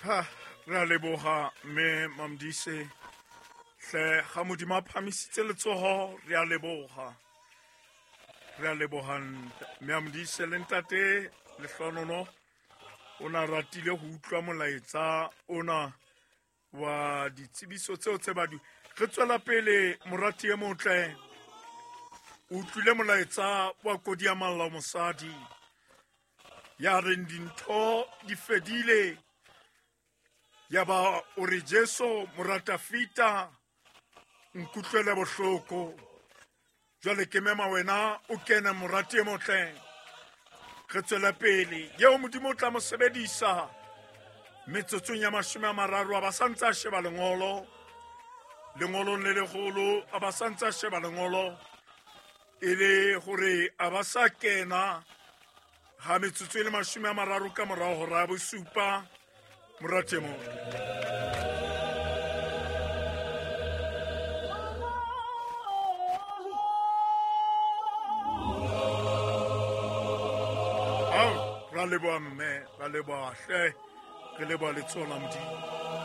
Ha re a leboga mme Mamdise hle ga Modimo a phamisitse letsogo, re a leboga, re a leboga mme Amdise le ntate Lehlonono. O na ratile go utlwa molaetsa ona wa ditsebiso tseo tse badu. Re tswela pele, morati e motle, o utlwile molaetsa wa kodi ya malla mosadi ya reng dintho di fedile, ya ba o re Jesu moratafita nkutlwele bohloko. Jwale ke mema wena o kene, morati e motle, re tswele pele. Yeo Modimo o tla mo sebedisa metsotsong ya 30 a ba santse a sheba lengolo, lengolong le legolo a ba santse a sheba lengolo, e le gore a ba sa kena ga metsotso e le 30 ka morago hora ya bosupa. Morati e motle, ao ra leboa mme, ra leboa hle, re leboa letsoho la Modimo.